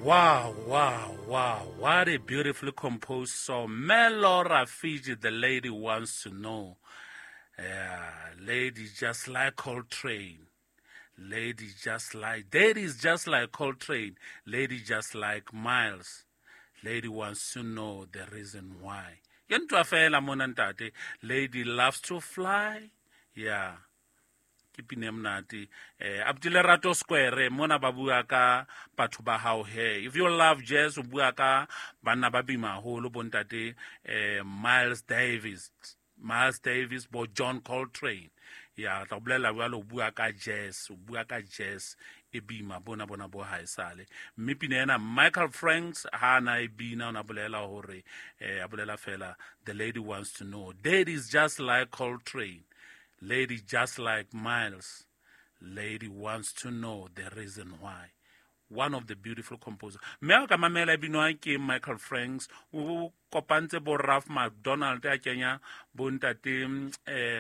Wow. What a beautifully composed song. Melora Fiji, the lady wants to know. Yeah, lady just like Coltrane. Lady just like, daddy's just like Coltrane. Lady just like Miles. Lady wants to know the reason why. Ke ntwa fela mona ntate. Lady loves to fly. Yeah. Ke pina e monate. Abuti Lerato Square mona ba bua ka batho ba hao he. If you love jazz, o bua ka banna ba bima haholo bo ntate, Miles Davis. Miles Davis bo John Coltrane. Ya tla bolela jwalo, o bua ka jazz, o bua ka jazz e bima bona bona bo haesale. Mme pina ena Michael Franks ha na e bina, o na bolela hore, a bolela fela the lady wants to know. Daddy is just like Coltrane. Lady just like Miles. Lady wants to know the reason why. One of the beautiful composers. Mme ha ka mamela e binwa ke Michael Franks, o kopantse bo Ralph MacDonald a kenya bo ntate,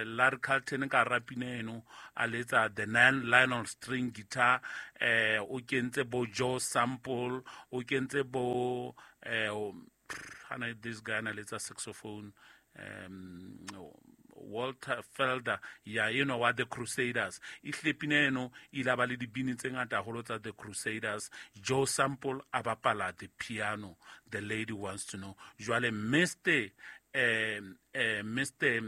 Larry Carlton ka hara pina eno, a letsa the nylon string guitar, o kentse bo Joe Sample, o kentse bo, hana this guy na letsa saxophone, Walter Felder, ya you know what, the Crusaders. Ehlile pina eno e ile ba le dibini tse ngata haholo tsa the Crusaders. Joe Sample a bapala the piano. The lady wants to know. Jwale Mister,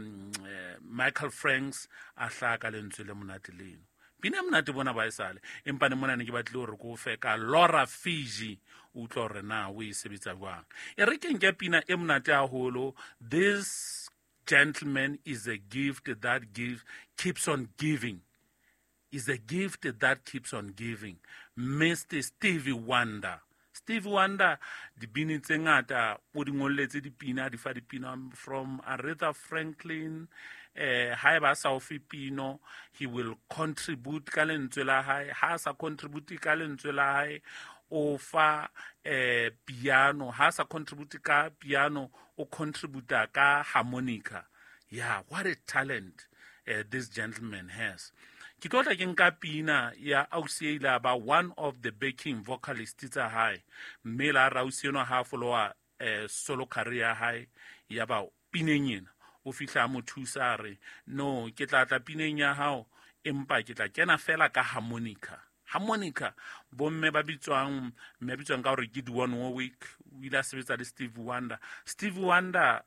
Michael Franks a hlaha ka lentswe le monate leno. Pina e monate bona ba esale. Empa ne mona ne ke batlile hore ke o fe ka Laura Fiji, o utlwa hore na o e sebetsa jwang. E re ke nke pina e monate haholo. This gentleman is a gift that keeps on giving. Is a gift that keeps on giving. Mr. Stevie Wonder. Stevie Wonder, dibini tse ngata, o di ngolletse dipina, di fa dipina from Aretha Franklin, haeba a sa o fe pino, he will contribute ka lentswe la hae. Ha a sa contribute ka lentswe la hae, o fa, piano. Ha a sa contribute ka piano, o contributa ka harmonica. Yeah, what a talent, this gentleman has. Ke tlo tla ke nka pina ya ausi e ile ba one of the backing vocalists tsa hae. Mme la ra ausi enwa ha followa, solo career ya hae, ya ba pineng ena. O fihla a mo thusa a re, no, ke tla tla pineng ya hao, empa ke tla kena fela ka harmonica. Harmonica, bomme ba bitswang, mme bitswang ka hore ke Dionne Warwick, o ile a sebetsa le Stevie Wonder. Stevie Wonder,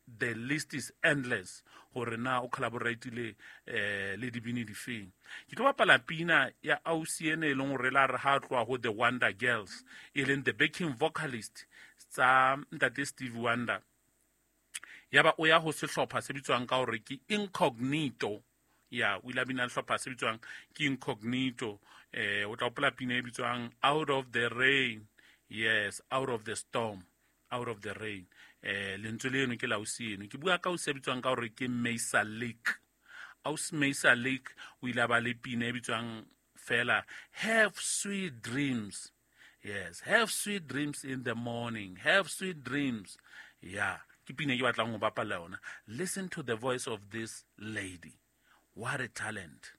the list is endless hore na o collaboratile, le dibini difeng. Ke tlo bapala pina ya ausi ene e leng hore la re ha tloha ho The Wonder Girls, e leng the backing vocalist tsa ntate Stevie Wonder. Yaba o ya ho sehlopha se bitswang ka hore ke Incognito. Ya, o ile a bina sehlopha se bitswang ke Incognito. O tla hopola pina e bitswang Out of the Rain. Yes, Out of the Storm, Out of the Rain. Lentswe leno ke la ausi eno. Ke bua ka ausi e bitswang ka hore ke Maysa Lake. Ausi Maysa Lake o ile a ba le pina e bitswang fela Have Sweet Dreams. Yes, have sweet dreams in the morning. Have sweet dreams. Yeah, ke pina e ke batlang ho bapala yona. Listen to the voice of this lady. What a talent.